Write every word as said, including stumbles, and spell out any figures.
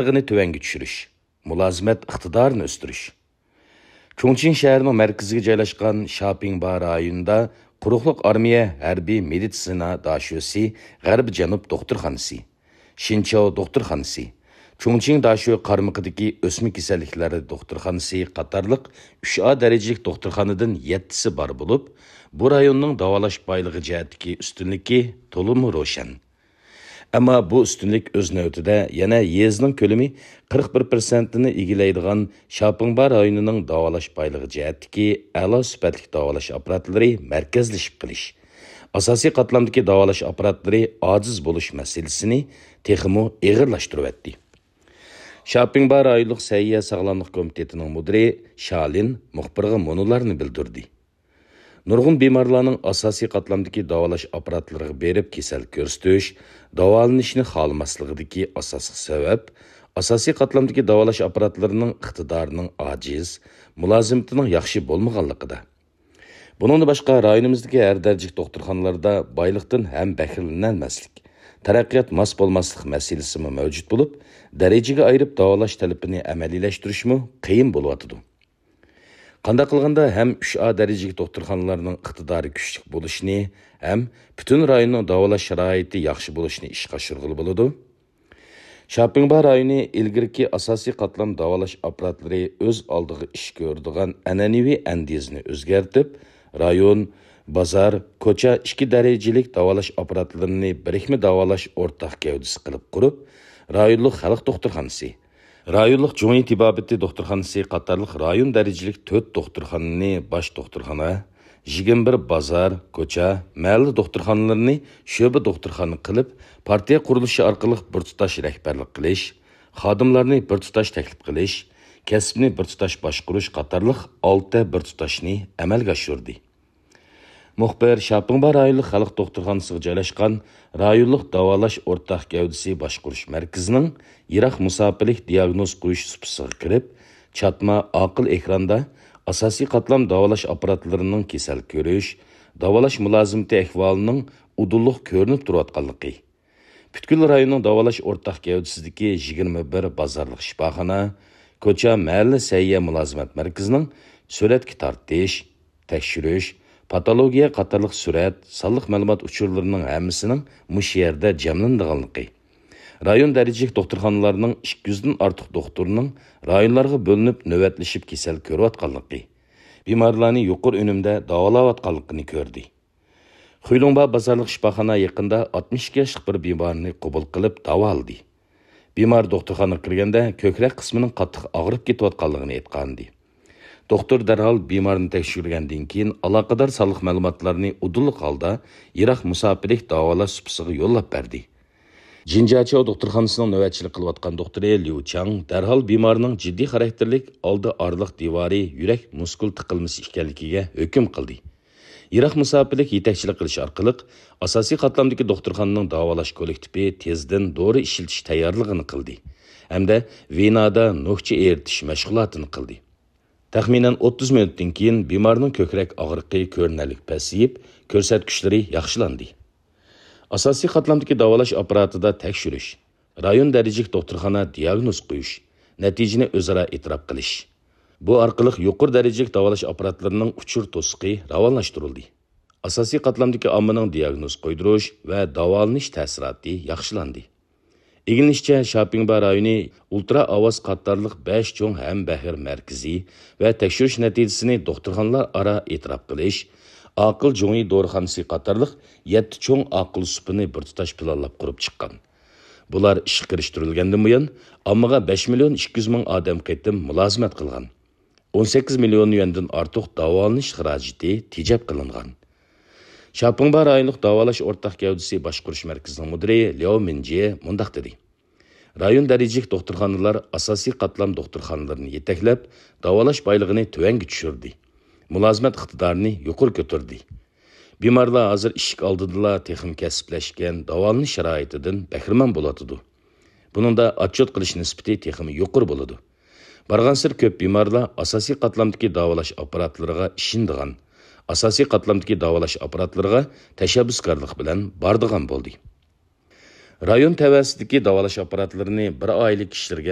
ئاپپاراتلىرىنى تۆۋەنگە چۈشۈرۈش، مۇلازىمەت ئىقتىدارىنى ئۆستۈرۈش. چۇڭچىڭ شەھىرىنىڭ مەركىزىگە جايلاشقان شياپىڭبا رايونىدا قۇرۇقلۇق ئارمىيە ھەربىي مېدىتسىنا داشۆسى غەربىي جەنۇب دوختۇرخانىسى، شىنچاۋ دوختۇرخانىسى، چۇڭچىڭ داشۆ قارمىقىدىكى ئۆسمە كېسەللىكلەر دوختۇرخانىسى قاتارلىق ئۈچ ئا دەرىجىلىك دوختۇرخانىدىن يەتتىسى بار بولۇپ، بۇ رايوننىڭ داۋالاش بايلىقى جەھەتتىكى ئۈستۈنلۈكى تولىمۇ روشەن. ئەمما بۇ ئۈستۈنلۈك ئۆز نۆۋىتىدە يەنە يېزىنىڭ كۆلىمى قىرىق بىر پىرسەنتىنى ئىگىلەيدىغان شياپىڭبا رايونىنىڭ داۋالاش بايلىقى جەھەتتىكى ئەلا سۈپەتلىك داۋالاش ئاپپاراتلىرى مەركەزلىشىپ قېلىش، ئاساسىي قاتلامدىكى داۋالاش ئاپپاراتلىرى ئاجىز بولۇش مەسىلىسىنى تېخىمۇ ئېغىرلاشتۇرۇۋەتتى. شياپىڭبا رايونلۇق سەھىيە ساغلاملىق كومىتېتىنىڭ مۇدىرى شالىن مۇخبىرغا مۇنۇلارنى بىلدۈردى. نۇرغۇن بىمارلارنىڭ ئاساسىي قاتلامدىكى داۋالاش ئاپپاراتلىرىغا بېرىپ كېسەل كۆرسىتىش، داۋالىنىشنى خالىماسلىقىدىكى ئاساسلىق سەۋەب، ئاساسىي قاتلامدىكى داۋالاش ئاپپاراتلىرىنىڭ ئىقتىدارىنىڭ ئاجىز، مۇلازىمىتىنىڭ ياخشى بولمىغانلىقىدا. بۇنىڭدىن باشقا، رايونىمىزدىكى ھەر دەرىجىلىك دوختۇرخانىلاردا بايلىقتىن ھەم بەھرىلىنەلمەسلىك، تەرەققىيات ماس بولماسلىق مەسىلىسىمۇ مەۋجۇت بولۇپ، دەرىجىگە ئايرىپ داۋالاش تەلىپىنى ئەمەلىيلەشتۈرۈشمۇ قىيىن بولۇۋاتىدۇ. قانداق قىلغاندا ھەم ئۈچ ئا دەرىجىلىك دوختۇرخانىلارنىڭ ئىقتىدارى كۈچلۈك بولۇشىنى ھەم پۈتۈن رايوننىڭ داۋالاش شارائىتى ياخشى بولۇشىنى ئىشقا ئاشۇرغىلى بولىدۇ؟ شياپىڭبا رايونى ئىلگىرىكى ئاساسىي قاتلام داۋالاش ئاپپاراتلىرى ئۆز ئالدىغا ئىش كۆرىدىغان ئەنئەنىۋى ئەندىزىنى ئۆزگەرتىپ، رايون، بازار، كوچا ئىككى دەرىجىلىك داۋالاش ئاپپاراتلىرىنى بىرىكمە داۋالاش ئورتاق گەۋدىسى قىلىپ قۇرۇپ، رايونلۇق خەلق دوختۇرخانىسى، رايونلۇق جۇڭيى تېبابىتى دوختۇرخانىسى قاتارلىق رايون دەرىجىلىك تۆت دوختۇرخانىنى باش دوختۇرخانا، يىگىرمە بىر بازار، كوچا، مەھەللە دوختۇرخانىلىرىنى شۆبە دوختۇرخانا قىلىپ، پارتىيە قۇرۇلۇشى ئارقىلىق بىر تۇتاش رەھبەرلىك قىلىش، خادىملارنى بىر تۇتاش تەكلىپ قىلىش، كەسىپنى بىر تۇتاش باشقۇرۇش قاتارلىق ئالتە بىر تۇتاشنى ئەمەلگە ئاشۇردى. مۇخبىر شياپىڭبا رايونلۇق خەلق دوختۇرخانىسىغا جايلاشقان رايونلۇق داۋالاش ئورتاق گەۋدىسى باشقۇرۇش مەركىزىنىڭ يىراق مۇساپىلىك دىياگنوز قويۇش سۇپىسىغا كىرىپ، چاتما ئاقىل ئېكراندا ئاساسىي قاتلام داۋالاش ئاپپاراتلىرىنىڭ كېسەل كۆرۈش، داۋالاش مۇلازىمىتى ئەھۋالىنىڭ ئۇدۇللۇق كۆرۈنۈپ تۇرۇۋاتقانلىقى، پۈتكۈل رايوننىڭ داۋالاش ئورتاق گەۋدىسىدىكى يىگىرمە بىر بازارلىق شىپاخانا، كوچا، مەھەللە سەھىيە مۇلازىمەت مەركىزىنىڭ سۈرەتكە تارتىش، تەكشۈرۈش، پاتولوگىيە قاتارلىق سۈرەت، سانلىق مەلۇمات ئۇچۇرلىرىنىڭ ھەممىسىنىڭ مۇشۇ يەردە جەملىنىدىغانلىقى، رايون دەرىجىلىك دوختۇرخانىلارنىڭ ئىككى يۈزدىن ئارتۇق دوختۇرىنىڭ رايونلارغا بۆلۈنۈپ نۆۋەتلىشىپ كېسەل كۆرۈۋاتقانلىقى، بىمارلارنى يۇقىرى ئۈنۈمدە داۋالاۋاتقانلىقىنى كۆردى. خۇيلۇڭبا بازارلىق شىپاخانا يېقىندا ئاتمىش ئىككى ياشلىق بىر بىمارنى قوبۇل قىلىپ داۋالىدى. بىمار دوختۇرخانىغا كىرگەندە كۆكرەك قىسمىنىڭ قاتتىق ئاغرىپ كېتىۋاتقانلىقىنى ئېيتقانىدى. دوختۇر دەرھال بىمارنى تەكشۈرگەندىن كېيىن ئالاقىدار سانلىق مەلۇماتلارنى ئۇدۇللۇق ھالدا يىراق مۇساپىلىك داۋالاش سۇپىسىغا يوللاپ بەردى. جىنجياچياۋ دوختۇرخانىسىنىڭ نۆۋەتچىلىك قىلىۋاتقان دوختۇرى ليۇ چاڭ دەرھال بىمارنىڭ جىددىي خاراكتېرلىك ئالدى ئارىلىق دىۋارى يۈرەك مۇسكۇل تىقىلمىسى ئىكەنلىكىگە ھۆكۈم قىلدى. يىراق مۇساپىلىك يېتەكچىلىك قىلىش ئارقىلىق ئاساسىي قاتلامدىكى دوختۇرخانىنىڭ داۋالاش كوللېكتىپى تېزدىن دورا ئىشلىتىش تەييارلىقىنى قىلدى ھەمدە ۋېنادا نۆكچە ئېرىتىش مەشغۇلاتىنى قىلدى. تەخمىنەن ئوتتۇز مىنۇتتىن كېيىن بىمارنىڭ كۆكرەك ئاغرىقى كۆرۈنەرلىك پەسىيىپ، كۆرسەتكۈچلىرى ياخشىلاندى. ئاساسىي قاتلامدىكى داۋالاش ئاپپاراتىدا تەكشۈرۈش، رايون دەرىجىلىك دوختۇرخانا دىياگنوز قويۇش، نەتىجىنى ئۆزئارا ئېتىراپ قىلىش. بۇ ئارقىلىق يۇقىرى دەرىجىلىك داۋالاش ئاپپاراتلىرىنىڭ ئۇچۇر توسۇقى راۋانلاشتۇرۇلدى. ئاساسىي قاتلامدىكى ئاممىنىڭ دىياگنوز قويدۇرۇش ۋە داۋالىنىش تەسىراتى ياخشىلاندى. ئىگىلىنىشىچە، شياپىڭبا رايونى ئۇلترا ئاۋاز قاتارلىق بەش چوڭ ھەمبەھىر مەركىزى ۋە تەكشۈرۈش نەتىجىسىنى دوختۇرخانىلار ئارا ئېتىراپ قىلىش، ئاقىل جۇڭيى دورىخانىسى قاتارلىق يەتتە چوڭ ئاقىل سۇپىنى بىر تۇتاش پىلانلاپ قۇرۇپ چىققان. بۇلار ئىشقا كىرىشتۈرۈلگەندىن بۇيان، ئاممىغا بەش مىليون ئىككى يۈز مىڭ ئادەم قېتىم مۇلازىمەت قىلغان. ئون سەككىز مىليون يۈەندىن ئارتۇق داۋالىنىش خىراجىتى تېجەپ قىلىنغان. شياپىڭبا رايونلۇق داۋالاش ئورتاق گەۋدىسى باشقۇرۇش مەركىزىنىڭ مۇدىرى لياۋ مىنجې مۇنداق دېدى: رايون دەرىجىلىك دوختۇرخانىلار ئاساسىي قاتلام دوختۇرخانىلىرىنى يېتەكلەپ، داۋالاش بايلىقىنى تۆۋەنگە چۈشۈردى، مۇلازىمەت ئىقتىدارىنى يۇقىرى كۆتۈردى. بىمارلار ھازىر ئىشىك ئالدىدىلا تېخىمۇ كەسىپلەشكەن داۋالىنىش شارائىتىدىن بەھرىمەن بولۇۋاتىدۇ. بۇنىڭدا ئاتچوت قىلىش نىسبىتى تېخىمۇ يۇقىرى بولىدۇ. بارغانسېرى كۆپ بىمارلار ئاساسىي قاتلامدىكى داۋالاش ئاپپاراتلىرىغا ئىشىنىدىغان، ئاساسىي قاتلامدىكى داۋالاش ئاپپاراتلىرىغا تەشەببۇسكارلىق بىلەن بارىدىغان بولدى. رايون تەۋەسىدىكى داۋالاش ئاپپاراتلىرىنى بىر ئائىلە كىشىلىرىگە